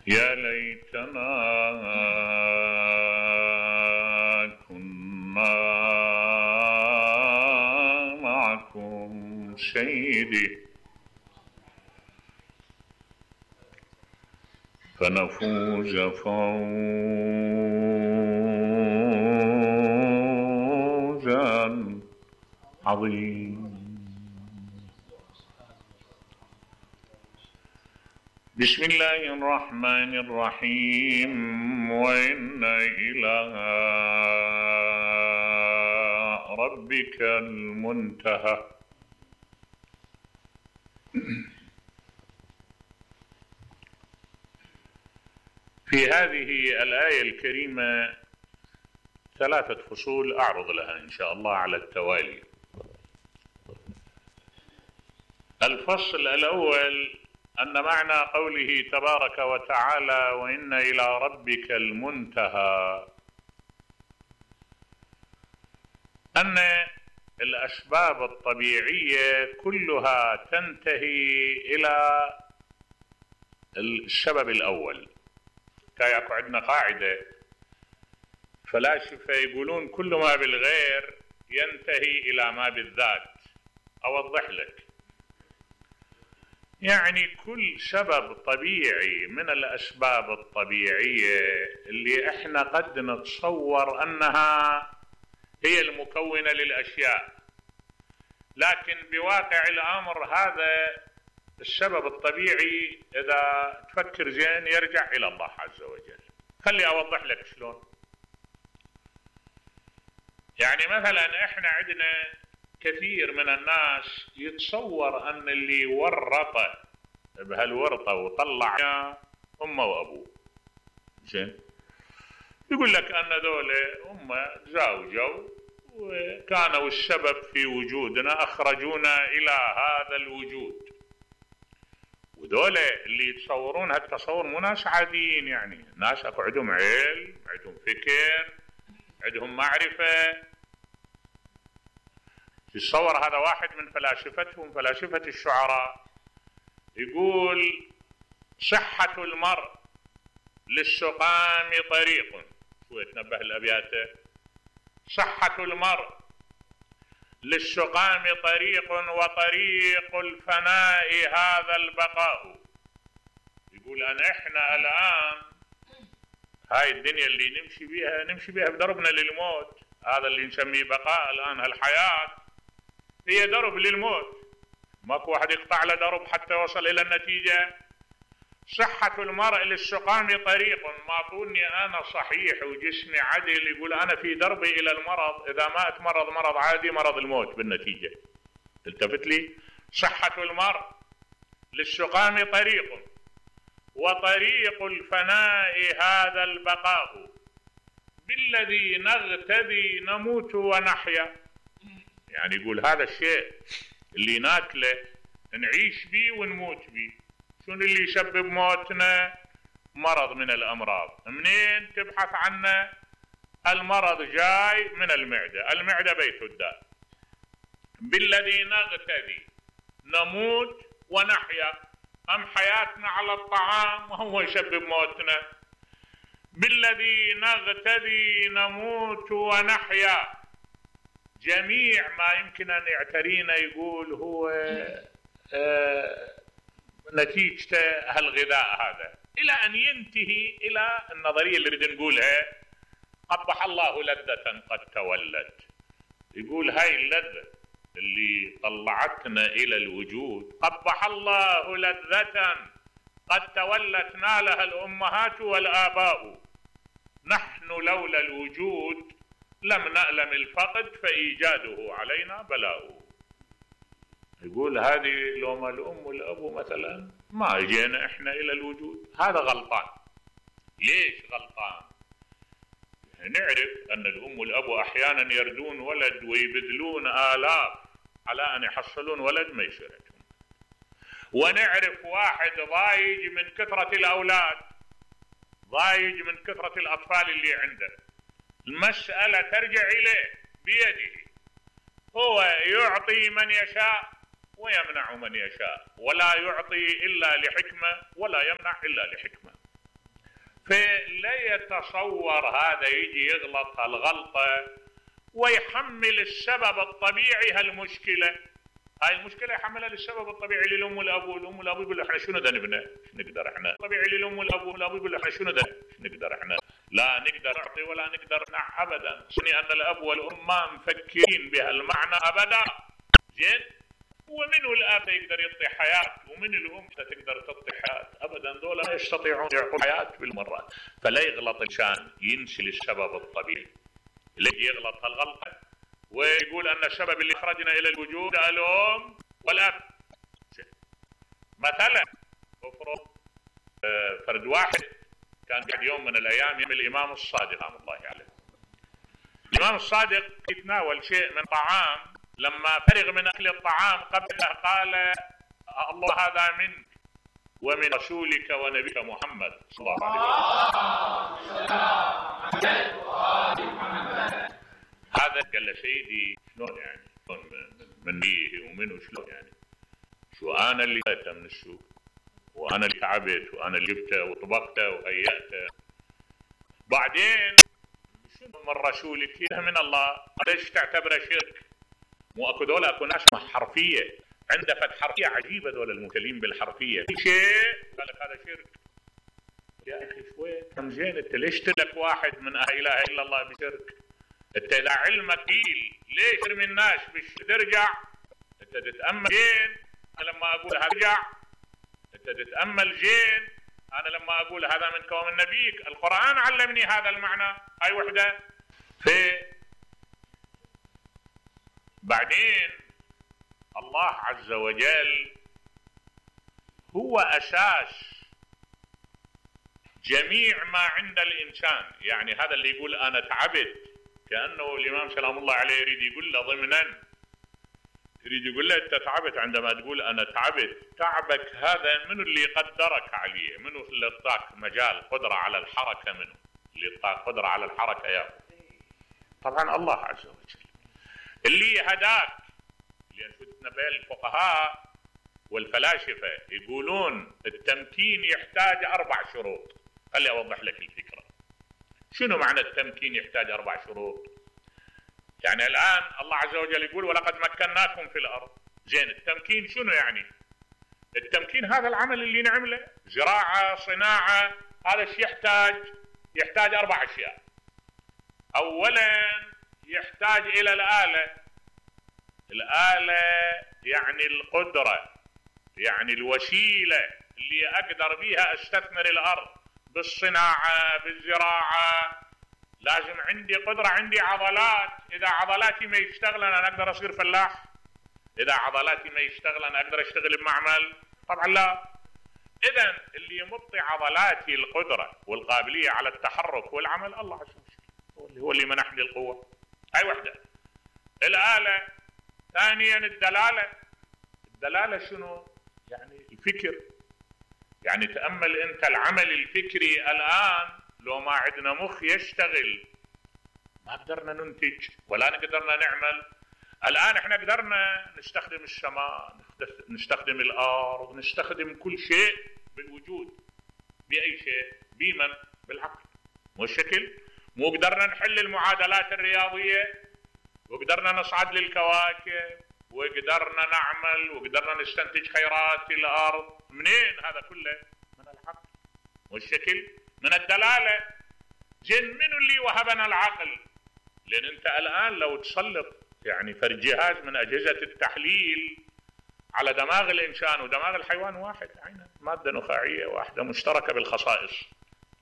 يا ليتنا كنا معكم سيدي فنفوز فوزا عظيما. بسم الله الرحمن الرحيم. وإن إلى ربك المنتهى. في هذه الآية الكريمة 3 فصول أعرض لها إن شاء الله على التوالي. الفصل الأول أن معنى قوله تبارك وتعالى وإن إلى ربك المنتهى أن الأسباب الطبيعية كلها تنتهي إلى السبب الأول. كاياكو عندنا قاعدة فلاسفة يقولون كل ما بالغير ينتهي إلى ما بالذات. أوضح لك، يعني كل سبب طبيعي من الأسباب الطبيعية اللي احنا قد نتصور أنها هي المكونة للأشياء، لكن بواقع الأمر هذا السبب الطبيعي إذا تفكر زين يرجع إلى الله عز وجل. خلي أوضح لك شلون. يعني مثلا احنا عندنا كثير من الناس يتصور أن اللي ورطه بهالورطة وطلع أمه وأبوه، زين، يقول لك أن ذولا هم تزاوجوا وكانوا السبب في وجودنا، أخرجونا إلى هذا الوجود. وذولا اللي يتصورون هالتصور مو ناس عاديين، يعني ناس أكو عندهم علم، عندهم فكر، عندهم معرفة. يتصور هذا واحد من فلاسفتهم، فلاسفة الشعراء، يقول صحة المرء للسقام طريق. شو يتنبه الأبيات؟ صحة المرء للسقام طريق وطريق الفناء هذا البقاء. يقول أن إحنا الآن هاي الدنيا اللي نمشي بيها بدربنا للموت، هذا اللي نسميه بقاء الآن. هالحياة هي درب للموت، ماكو واحد يقطع له درب حتى يوصل إلى النتيجة. صحة المرء للسقام طريق، ما طولني أنا صحيح وجسمي عدل، يقول أنا في دربي إلى المرض، إذا ما أتمرض مرض عادي مرض الموت بالنتيجة. التفت لي، صحة المرء للسقام طريق وطريق الفناء هذا البقاء بالذي نغتدي نموت ونحيا. يعني يقول هذا الشيء اللي ناكله نعيش بيه ونموت بيه. شنو اللي يسبب موتنا؟ مرض من الأمراض. منين تبحث عنه؟ المرض جاي من المعدة، المعدة بيت الداء. بالذي نغتدي نموت ونحيا، أم حياتنا على الطعام وهو يسبب موتنا. بالذي نغتدي نموت ونحيا، جميع ما يمكن أن يعترينا يقول هو نتيجة هالغذاء هذا، إلى أن ينتهي إلى النظرية اللي نريد نقولها قبح الله لذة قد تولت. يقول هاي اللذة اللي طلعتنا إلى الوجود قبح الله لذة قد تولت نالها الأمهات والآباء. نحن لولا الوجود لم نألم الفقد فإيجاده علينا بلاء. يقول هذه لو ما الأم والأبو مثلا ما اجينا احنا إلى الوجود. هذا غلطان. ليش غلطان؟ نعرف أن الأم والأبو أحيانا يردون ولد ويبذلون آلاف على أن يحصلون ولد ما يشركون. ونعرف واحد ضايج من كثرة الأولاد، ضايج من كثرة الأطفال اللي عنده. المسألة ترجع إليه بيده، هو يعطي من يشاء ويمنع من يشاء، ولا يعطي إلا لحكمة ولا يمنع إلا لحكمة. فلا يتصور هذا يجي يغلط هالغلطة ويحمل السبب الطبيعي هالمشكلة. هاي المشكلة يحملها للسبب الطبيعي للأم والأبو. الأم والأبو يقول احنا شنو دا نبنى؟ شنو نقدر احنا؟ طبيعي للأم والأبو. الأبو يقول احنا شنو دا نقدر احنا؟ لا نقدر نعطي ولا نقدر نمنع أبدا. أن الأب والأم ما مفكرين بهالمعنى أبدا. زين؟ ومنو الأب يقدر يعطي حياة ومن الأم تقدر تعطي حياة؟ أبدا. دول لا يستطيعون يعطوا حياة بالمرات. فلا يغلط الإنسان، ينسي السبب الطبيعي. اللي يغلط هالغلطة ويقول أن السبب اللي أخرجنا إلى الوجود الأم والأب. مثلا افرض فرد واحد كان قاعد يوم من الأيام يم الإمام الصادق رحمه الله عليه. الإمام الصادق يتناول شيء من طعام، لما فرغ من أكل الطعام قبله قال الله هذا منك ومن رسولك ونبيك محمد صلى الله عليه وسلم. هذا قال له سيدي شلون يعني؟ شلون من بيه ومنه شلون يعني؟ شو أنا اللي جبته من السوق وأنا اللي تعبت وأنا اللي جبته وطبخته وهيأته، بعدين شنو من رسولك؟ من الله. ليش تعتبره شرك؟ مو اكو دول اكو ناس حرفيه، عنده فد حرفيه عجيبه دول المبتلين بالحرفيه، كل شيء قال لك هذا شرك. يا اخي شوي كم زين، انت ليش تلك واحد من لا اله الا الله بشرك؟ انت اذا علمك قيل ليش ترمي الناس ترجع؟ انت تتامل زين. انا لما اقول هرجع انت تتامل زين. انا لما اقول هذا منك ومن نبيك، القران علمني هذا المعنى. هاي وحده. بعدين الله عز وجل هو أساس جميع ما عند الإنسان. يعني هذا اللي يقول أنا تعبت، كأنه الإمام سلام الله عليه يريد يقول له ضمنا، يريد يقول له أنت تعبت عندما تقول أنا تعبت. تعبك هذا منو اللي قدرك عليه؟ منو اللي اعطاك مجال قدرة على الحركة؟ منو اللي اعطاك قدرة على الحركة يا طبعا الله عز وجل. اللي هداك، لأن شفنا بين الفقهاء والفلاسفة يقولون التمكين يحتاج 4 شروط. خلي أوضح لك الفكرة. شنو معنى التمكين يحتاج 4 شروط؟ يعني الآن الله عز وجل يقول ولقد مكناكم في الأرض. زين، التمكين شنو يعني؟ التمكين هذا العمل اللي نعمله، زراعة، صناعة، هذا الشيء يحتاج 4 أشياء. أولا يحتاج إلى الآلة. الآلة يعني القدرة، يعني الوسيلة اللي أقدر بيها أستثمر الأرض بالصناعة بالزراعة. لازم عندي قدرة، عندي عضلات. إذا عضلاتي ما يشتغل أنا أقدر أصير فلاح؟ إذا عضلاتي ما يشتغل أنا أقدر أشتغل بمعمل؟ طبعا لا. إذن اللي يمطي عضلاتي القدرة والقابلية على التحرك والعمل الله عز وجل، هو اللي منحني القوة. هاي وحدة الآلة. ثانيا الدلالة. الدلالة شنو؟ يعني الفكر. يعني تأمل أنت العمل الفكري الآن، لو ما عندنا مخ يشتغل ما قدرنا ننتج ولا قدرنا نعمل. الآن احنا قدرنا نستخدم السماء، نستخدم الأرض، نستخدم كل شيء بالوجود. بأي شيء؟ بمن؟ بالعقل. مو الشكل؟ مو قدرنا نحل المعادلات الرياضية، وقدرنا نصعد للكواكب، وقدرنا نعمل، وقدرنا نستنتج خيرات الأرض. منين هذا كله؟ من العقل. والشكل من الدلالة. جن منو اللي وهبنا العقل؟ لأن أنت الآن لو تسلط يعني جهاز من أجهزة التحليل على دماغ الإنسان ودماغ الحيوان واحد، عينه مادة نخاعية واحدة مشتركة بالخصائص.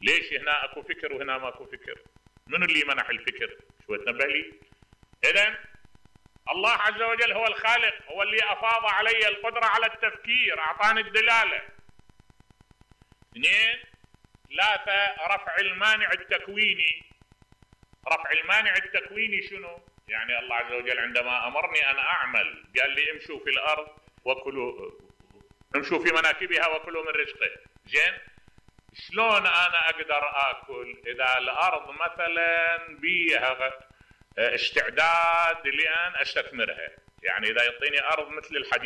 ليش هنا أكو فكر وهنا ما أكو فكر؟ منو اللي منح الفكر؟ شو تنبه لي؟ إذن الله عز وجل هو الخالق، هو اللي أفاض علي القدرة على التفكير، أعطاني الدلالة. 2 3 رفع المانع التكويني. رفع المانع التكويني شنو؟ يعني الله عز وجل عندما أمرني أن أعمل قال لي امشوا في الأرض وكلوا، امشوا في مناكبها وكلوا من رزقه. زين، شلون أنا أقدر آكل إذا الأرض مثلا بيها استعداد لأن أستثمرها؟ يعني إذا يعطيني أرض مثل الحديد